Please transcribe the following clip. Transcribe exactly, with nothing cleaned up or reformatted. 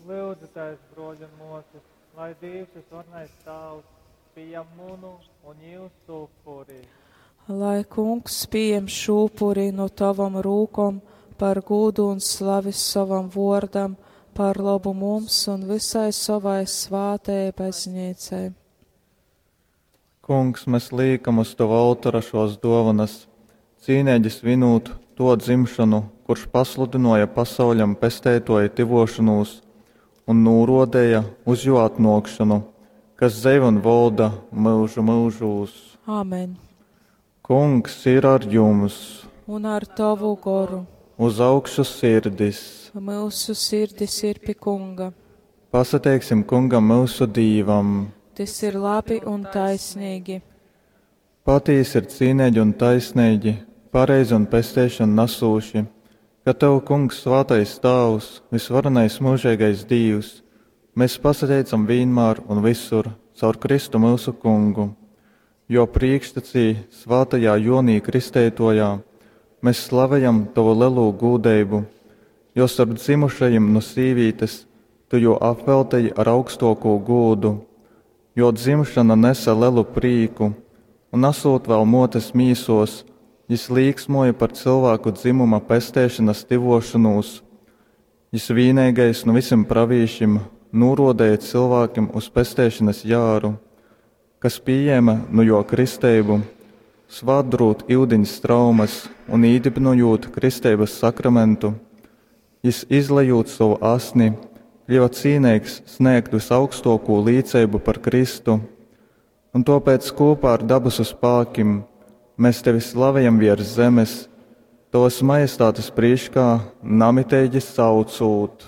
Lūdzieties, broļi un mosas, lai Dievs, visvarenais Tēvs, pieņem munu un jūsu upuri. Lai kungs pieņem šo upuri no tavam rūkom par gūdu un slavi savam vārdam, par labu mums un visai savai svātajai baznīcai. Kungs, mēs liekam uz Tava oltora šos dovanas, cīnīgi svinūt to dzimšanu, kurš pasludināja pasauļam pesteitoja tivošanos un norodēja uz jo atnākšanu, kas dzeiv un volda mūžu mūžūs. Āmen. Kungs ir ar jums, Un ar tavu goru. uz augšu sirdis. Mūsu sirdis ir pie kunga. Pasateiksim kungam mūsu dīvam. Tas ir labi un taisnīgi. Patīsi ir cīnīgi un taisnīgi, pareizi un pesteišanu nesūši, ka Tev, Kungs, svātais Tēvs, visvarenais mūžīgais Dievs, mēs pasateicam vienmēr un visur caur Kristu mūsu Kungu, jo priekštecī svātajā Jonī kristeitojā mēs slavējam Tavu lielo gūdeibu, jo starp dzimušajiem no sīvītes Tu jo apveltīji ar augstoko gūdu, jo dzimšana nesa lielu prīku, un esot vēl motes mīsos, jis līksmoja par cilvēku dzimuma pestēšanas tivošanos. Jis vienīgais no visiem pravīšiem norodēja cilvēkiem uz pestēšanas jāru, kas pieņēma no jo kristeibu, svātdrūt ūdeņas traumas un īdibinojot kristeibas sakramentu. Jis izlejot savu asni, kļuva cīnīgs sniegt visaugstoko līdzību par Kristu, un tāpēc kopā ar dabasu spēkiem mēs tevi slavējam virs zemes, tavas majestātes priekšā namiteigi saucūt.